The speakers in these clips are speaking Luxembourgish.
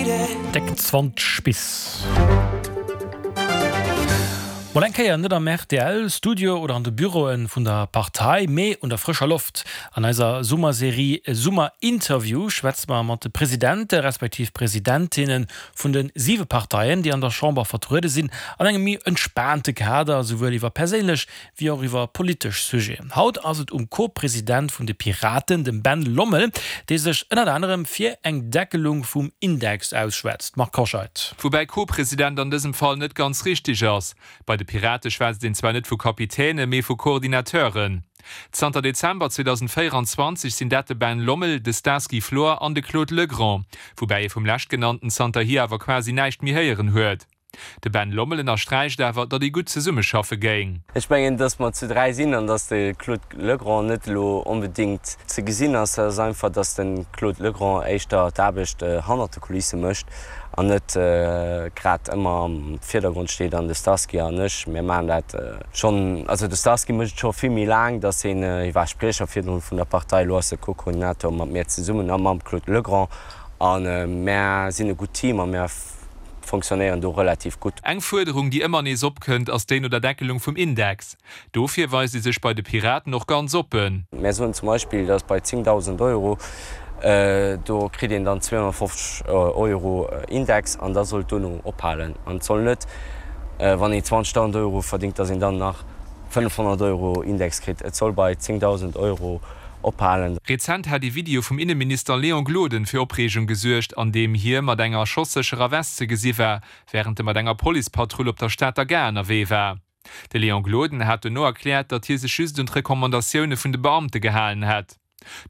Déck 20 bis. Mol eng Kéier net am rtl Studio oder an de Büroe vun der Partei, mee un der frëscher Loft. An eiser Summerserie Summerinterview schwätze mer mat de Presidente respektiv Presidentinne vun de siwe Parteien, déi an der Chamber vertruede sinn, an engem méi entspaante Kader, souwuel iwwer perséinlech wéi och iwwer politesch Sujeten. Haut ass et um Co-President vun de Piraten, dem Ben Lommel, dee sech ënnert anerem fir eng Deckelung vum Index ausschwätzt. Marc Hoscheid. Woubäi Co-President an dësem Fall net ganz richteg ass. Bei de Pirate schwätzt een zwar net vu Kapitäne, mee vu Coordinateuren. Zanter Dezember 2024 sinn dat de Ben Lommel, de Starsky Flor an de Claude Legrand, woubäi ee vum leschtgenannten zanterhier awer quasi näischt méi héieren huet. De Ben Lommel ënnersträicht awer, datt ee gutt zesummeschaffe géing. Ech mengen, datt mer zu 3 sinn an datt de Claude Legrand net elo onbedéngt ze gesinn ass. Dat ass einfach, datt de Claude Legrand éischter d'Aarbecht hannert de Kulisse mécht an net grad ëmmer am Virdergrond steet. An de Starsky an ech, mir maachen dat schonn, also de Starsky mécht et scho vill méi laang, datt hien, hie war Spriecher virdrun vun der Partei, elo ass e Co-Koordinator mat mir zesummen a mam Claude Legrand. A mär sinn e gutt Team a mär fonctionnéieren do relativ gutt. Eng Fuerderung, déi ëmmer nees opkënnt, ass déi no der Deckelung vum Index. Dofir weist ee sech bei de Piraten och ganz oppen. Mär soen zum Beispill, datt bei 10.000 Euro, do kritt een dann 250 Euro Index an da soll et dono ophalen. An et soll net, wann een 20.000 Euro verdéngt, datt een dann nach 500 Euro Index kritt. Et soll bei 10.000 Euro ophalen. Rezent hat ee Video vum Inneminister Léon Gloden fir Opreegung gesuergt, an deem hie mat enger schossécherer West ze gesi war, wärend e mat enger Policepatrull op der Stater Gare ënnerwee war. De Léon Gloden hat dono erkläert, datt hie sech just un d'Recommandatioune vun de Beamte gehalen hätt.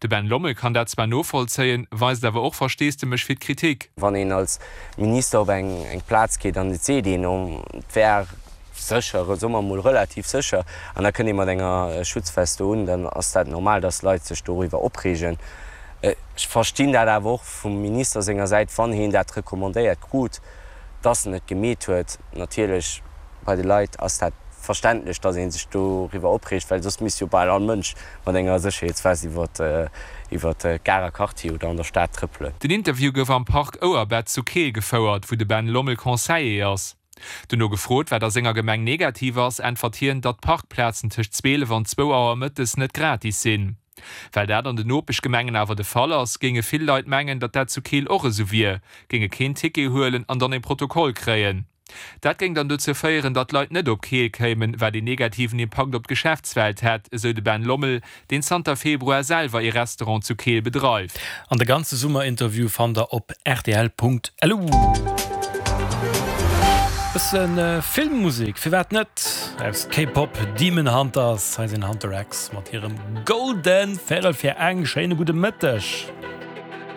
De Ben Lommel kann dat zwar novollzéien, weist awer och Versteesdemech fir d'Kritik. Wann een als Minister op eng Plaz geet an et seet een, et wär sécher, soe mer emol relativ sécher, an da kënnt ee mat enger Schutzvest do un, dann ass dat normal, dass Leit sech doriwwer opreegen. Ech verstinn dat awer och vum Minister senger Säit, wann hien dat recommandéiert krut, dass en et gemeet huet. Natierlech, bei de Leit ass dat verständlech, dass ee sech doriwwer opreegt, well soss misst jo bal all Mënsch mat enger Sécherheetsvest iwwer d'Garer Quartier oder an der Stad trëppelen. Den Interview gouf am Park Ouerbett zu Keel gefouert, wou de Ben Lommel Conseiller ass. Dono gefrot, wat a senger Gemeng negativ ass, äntwert hien, datt d'Parkplazen tëscht 12 an zwou Auer mëttes net gratis sinn. Well dat an den Nopeschgemengen awer de Fall ass, géinge vill Leit mengen, datt dat zu Keel och esou wier, géinge keen Ticket huelen an dann e Protokoll kréien. Dat géing dann dozou féieren, datt d'Leit net op Keel kéimen, wat een negativen Impakt op d'Geschäftswelt hätt, esou de Ben Lommel, deen zanter Februar selwer ee Restaurant zu Keel bedreift. An de ganze Summerinterview fannt der op rtl.lu. Bësse Filmmusek, firwat net? Aus K-Pop Demon Hunters, hei sinn Hunter X mat hirem Golden. Véierel vir eng, schéine gudde Mëtteg.